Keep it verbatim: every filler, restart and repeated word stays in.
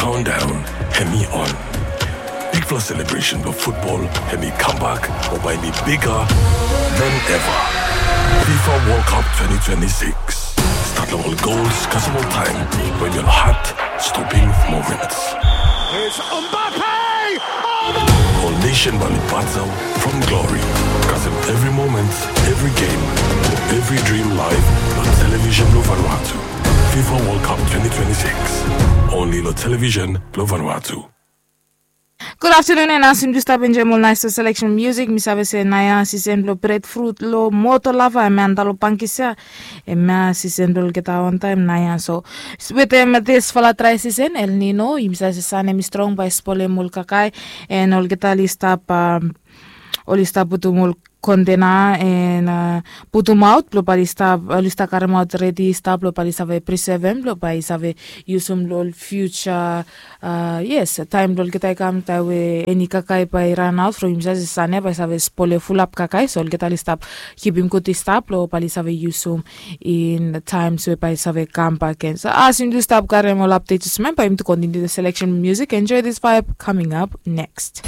Countdown hemi on. Bigfala celebration blong futbol hemi kambak o bae hemi bigger than ever. Fifa World Cup twenty twenty-six. Stat long ol gols kasem ol taem, wen ol heart stopping moments. Ol nation bae oli battle from glory. Kasem evri moment, evri game, evri dream live long television blong Vanuatu. Fifa World Cup twenty twenty-six. Only long television blong Vanuatu. Good afternoon, and as yumi stap enjoem ol nice selection music, mi save se naoia sisen blong breadfruit long moto lava, hemia antap long Pangkisia. Hemia sisen blong olgeta on taem naoia. So wetem disfala dry season, El Nino, yumi save se san hemi strong bae spolem ol kakae, and olgeta oli stap, um, oli stap putum ol kontena and, uh, putumaot blong bae oli stap, oli stap karemaot redi stap blong bae oli save prisevem blong bae oli save yusum long ol future. Uh, yes, taem blong olgeta i kam, taem we eni kakae bae i ranaot from yumi save se san ia bae save spole fulap kakae, so olgeta oli stap kipim gud i stap blong bae oli save yusum in times we bae i save kambak gen. So as yumi tu stap karem ol update, just remember yumi tu continue the selection music. Enjoy this vibe coming up next.